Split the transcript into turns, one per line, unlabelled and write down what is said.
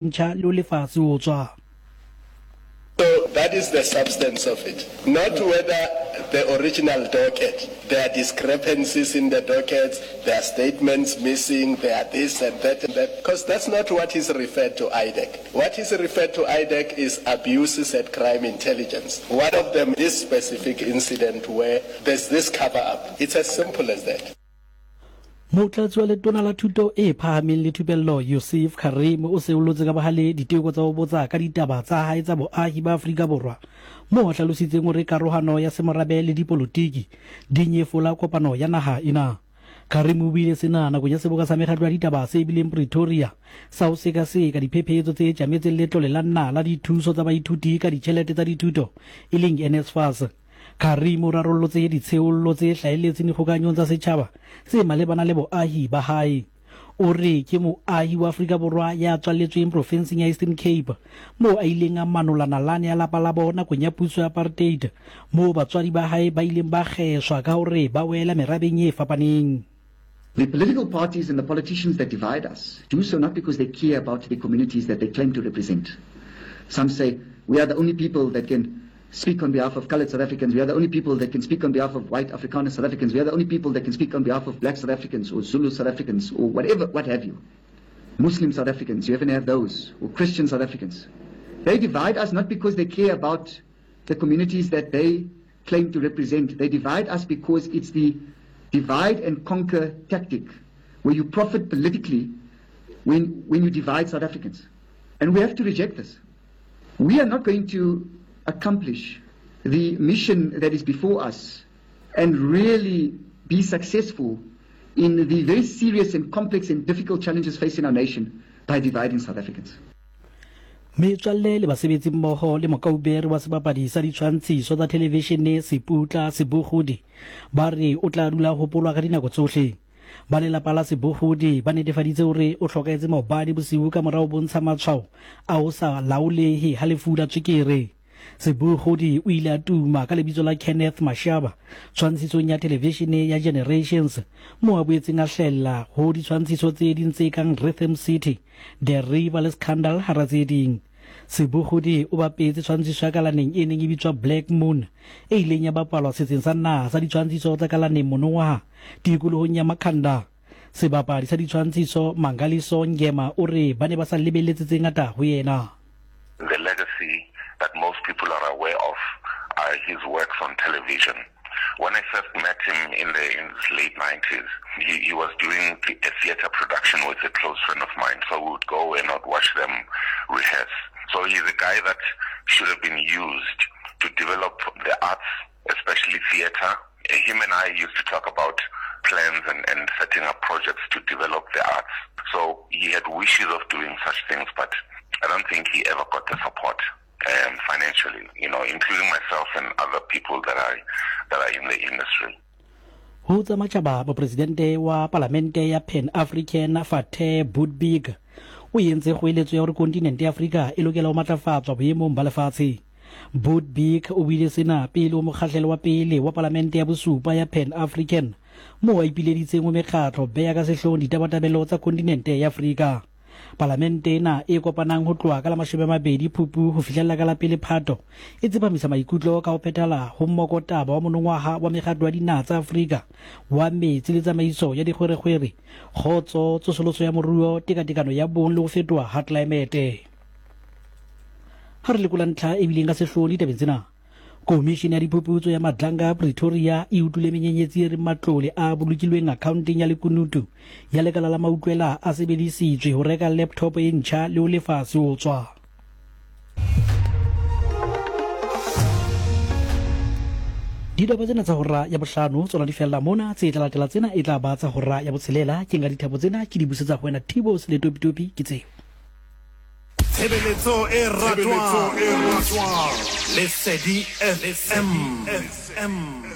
Ntšha le ho lefa seotswa.
So that is the substance of it, not whether the original docket, there are discrepancies in the dockets, there are statements missing, there are this and that and that, because that's not what is referred to IDAC. What is referred to IDAC is abuses at crime intelligence. One of them, this specific incident where there's this cover up. It's as simple as that.
Motlatsi wa Letona la Thuto e Phahameng le Thupello Yusuf Karim o seollotse ka bohale diteko tsa ho botsa ka ditaba tsa hae tsa boahi ba Afrika Borwa moo a hlalositseng hore karohano ya semorabe le dipolotiki di nyefola kopano ya naha ena. Karim o buile sena nakong ya seboka sa mekgatlo ya ditaba se bileng Pretoria sa ho sekaseka diphephetso tse tjametseng letlole la naha la dithuso tsa baithuti ka ditjhelete tsa dithuto e leng NSFAS. Karim o rarollotse ditsheollo tse hlahelletseng dikgokahanyong tsa setjhaba tse malebana le boahi ba hae. O re ke moahi wa Afrika Borwa ya tswalletsweng profenseng ya Eastern Cape, moo a ileng a manola nalane ya lapa labo nakong ya puso ya apartheid, moo batswadi ba hae ba ileng ba kgeswa ka hore ba wela merabeng e fapaneng.
The political parties and the politicians that divide us do so not because they care about the communities that they claim to represent. Some say, we are the only people that can speak on behalf of colored South Africans. We are the only people that can speak on behalf of white Afrikaner South Africans. We are the only people that can speak on behalf of black South Africans or Zulu South Africans or whatever, what have you. Muslim South Africans, you even have those, or Christian South Africans. They divide us not because they care about the communities that they claim to represent. They divide us because it's the divide and conquer tactic where you profit politically when, when you divide South Africans. And we have to reject this. We are not going to accomplish the mission that is before us and really be successful in the very serious and complex and difficult challenges facing our nation by dividing South Africans.
Metswalle le basebetsimmoho le mokaubere wa sebapadi sa ditshwantshiso tsa thelevishene Seputla Sebogodi ba re o tla dula a hopolwa ka dinako tsohle. Ba lelapa la Sebogodi ba netefaditse hore o hlokahetse maobane bosiu ka mora ho bontsha matshwao a ho sa laolehe ha lefu la tswekere. Sebogodi o ile a tuma ka lebitso la Kenneth Mashaba tshwantshisong ya thelevishene ya Generations, moo a boetseng a hlahella ho ditshwantshiso tse ding tse kang Rhythm City, The River le Scandal hara tse ding. Sebogodi o bapetse tshwantshiso ya kalaneng e neng e bitswa Black Moon e ileng ya bapalwa setseng sa naha sa ditshwantshiso tsa kalaneng monongwaha tikolohong ya Makhanda. Sebapadi sa ditshwantshiso Mangaliso Ngema o re ba ne ba sa lebelletse tse ngata ho yena.
The legacy that most people are aware of are his works on television. When I first met him in the in his late 90s, he, he was doing a theater production with a close friend of mine. So we would go and I'd watch them rehearse. So he's a guy that should have been used to develop the arts, especially theater. Him and I used to talk about plans and, and setting up projects to develop the arts. So he had wishes of doing such things, but I don't think he ever got the support um, financially, you know, including myself and other people that are, that are in the industry.
Ho tsa matjhaba, Mopresidente wa Palamente ya Pan African Fateh Boutbig o entse kgoeletso ya hore kontinente ya Afrika e lokela ho matlafatswa boemong ba lefatshe. Boutbig o buile sena pele ho mokgahlelo wa pele wa Palamente ya bosupa ya Pan African moo a ipileditseng ho mekgatlo beya ka sehloohong ditabatabelo tsa kontinente ya Afrika. Palamente ena e kopanang ho tloha ka la 20 Phupu ho fihlella ka la pele Phato e tsepamisa maikutlo ka ho phethahala ho mmokotaba wa monongwaha wa mekgatlo ya dinaha tsa Afrika wa metsi le tsamaiso ya dikgwerekgwere, kgotso, tsosoloso ya moruo, tekatekano ya bong le ho fetoha ha tlelaemete. Ha re lekola ntlha e bileng ka sehloohong ditabeng tsena, Komishene ya Diphuputso ya Madlanga Pretoria e utlwile menyenyetsi e reng matlole a bolokilweng akhaonteng ya lekunutu ya lekala la mautlwela a sebedisitswe ho reka laptop e ntjha le ho lefa seotswa. Ditaba tsena tsa hora ya bohlano tsona di fella mona, tse tla latela tsena e tla ba tsa hora ya botshelela. Ke nka dithapo tsena ke di busetsa ho wena Thibo Seletopitopi ke tseo.
Tshebeletso e ratwang. Lesedi FM.